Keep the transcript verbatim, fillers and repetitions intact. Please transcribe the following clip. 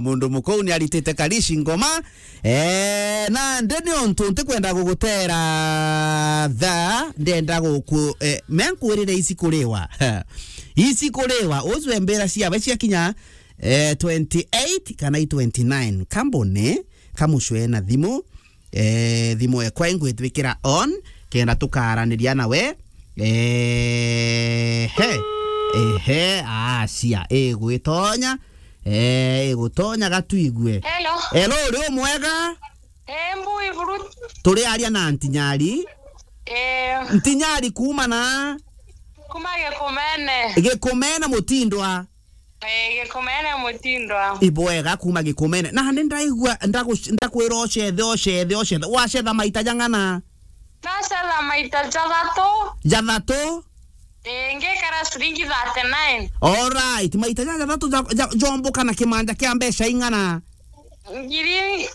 Mundu mukou ni aritite Karishi ngoma. Eh, na ndi ni untu ntikwenda gugutera thaa, ndenda guku, eh, me nkwirire icikuriwa. Icikuriwa, ucwembera ciawe ciakinya, eh, twenty-eight kana i twenty-nine. Kambone, kamucwe na thimu, eh, thimu ekwa ingwitwikira on, kenda tukaraniria nawe. Eh, he. Ehe, acia, igwitonya. Eh, igutonya gatuigue. Hello. Hello, uri umwega? Eh, mbui buru. Turi aria na Ntinyari. Eh. Ntinyari kuuma na? Kuma Gikumene. Gikumene Mutindwa. Eh, Gikumene Mutindwa. Ibwega kuuma Gikumene. Na ni ndaigua ndagu-, ndakwira ocethe, ocethe, ocethe. Wacetha maita jang'ana? Nacetha maita jathatu. Jathatu? Eh, ngikara ciringi thirty-nine. Alright, maita ja jathatu ja, ja, jomboka na kimanja kia mbeca ing'ana? Ngiri